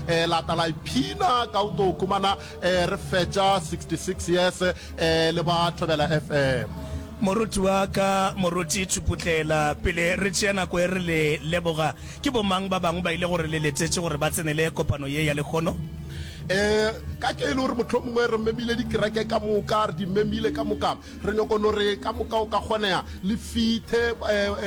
Eh, la tla la iphina ka o to khumana eh, re fetša 66 years eh, le ba Thobela FM. Moruti wa ka, Moruti Thuputlela, pele re tšea nako e re le leboga, ke bomang ba bangwe ba ile gore le letetše gore ba tsenele kopano ye ya lehono? Eh, ka ke e le gore mohlomongwe re memile dikereke ka moka, re di memile ka moka, Re nyoko no re ka moka o ka kgonega le fithe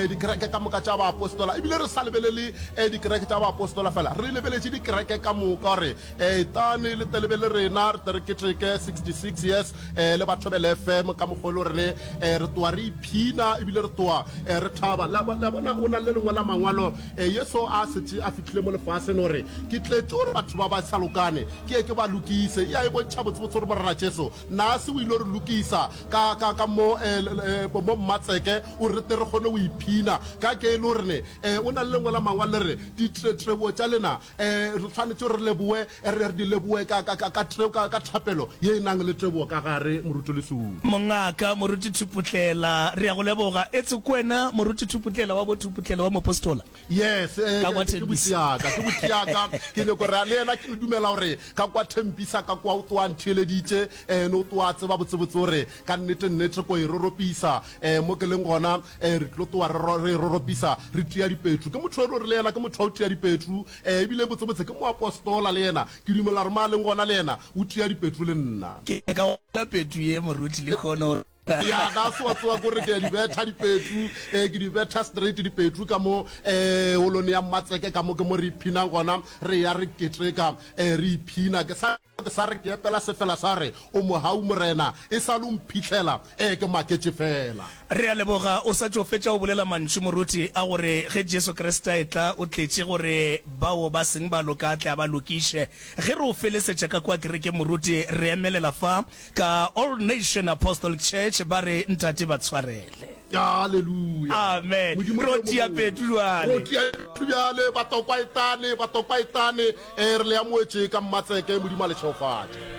dikereke ka moka tša baapostola, ebile re sa lebelele dikereke tša baapostola fela, re lebeletše dikereke ka moka gore etane le tle le be le rena, re tle re keteke 66 years le Bathobela FM ka mokgwa e le gore re re toa re iphina ebile re toa re thaba. La bona, o na le lengwe la mangwalo Yesu a setše a fihlile mo lefaseng gore ke tletše gore batho ba ba sa lokane ke ye ke ba lokise. Ya e bontšha botsebotse gore Morena Jesu Na se o ile re lokisa ka, ka, ka mo, eh, eh, mo mmatseke, o re tle re kgone go iphina? Ka ke e le gore ne, eh, o na le lengwe la mangwalo le re, Ditretrebo tša lena, eh, re tshwanetše re leboe, re, re di leboe ka, ka, ka, ka, ka, ka thapelo ye e nang le tebogo ka gare, Moruti Lesupi. Mongaka, Moruti Thuputlela, re a go leboga. Etse ke wena Moruti Thuputlela wa bo Thuputlela wa Mopostola? Yes, eh, Ka kwa ke Tembisa. botiaka, ke botiaka. Ke nyoko re le yena ke dumela gore ka kwa Tembisa ka kwa o tloa ntheeleditše, eh, ne o tloa tseba botsebotse gore ka nnete nnete ko e roropisa. Eh, mo ke leng gona, eh, re tlo tloa re ro- re e roropisa, re tia dipetru. Ke motho e le gore le yena ke motho wa go tia dipetru, eh, ebile botsebotse ke moapostola le yena. Ke dumela gore mo a leng gona le yena o tia dipetru le nna. Ke ka gopola petru ye moruti lehono. Ya ka se wa tsewa kore ke a di betha dipetru, eh, ke di betha straight dipetru ka mo eh, holong ya Mmatseke ka mo ke mo re iphinang gona, re ya re keteka eh, re iphina. Ke sa ke sa re ke epela sefela sa re o mohau Morena, e sa le o mphihlela eh, ke maketše fela. Re a leboga. O sa tšo fetša go bolela mantšu, moruti, a gore ge Jesu Kriste a etla, o tletše gore bao ba seng ba loka a tle a ba lokiše. Ge re o felesetša ka kua kerekeng, moruti, re emelela fa Ka All Nation Apostolic Church ba re Ntate ba tshwarele. Haleluya. Amen. Modimo Ro ke yo tia mogolo. petu jwale. Ro tia petu bjale, batokwa etane, batokwa etane. Eh, re le amoetše ka Mmatseke, Modimo a le šegofatše.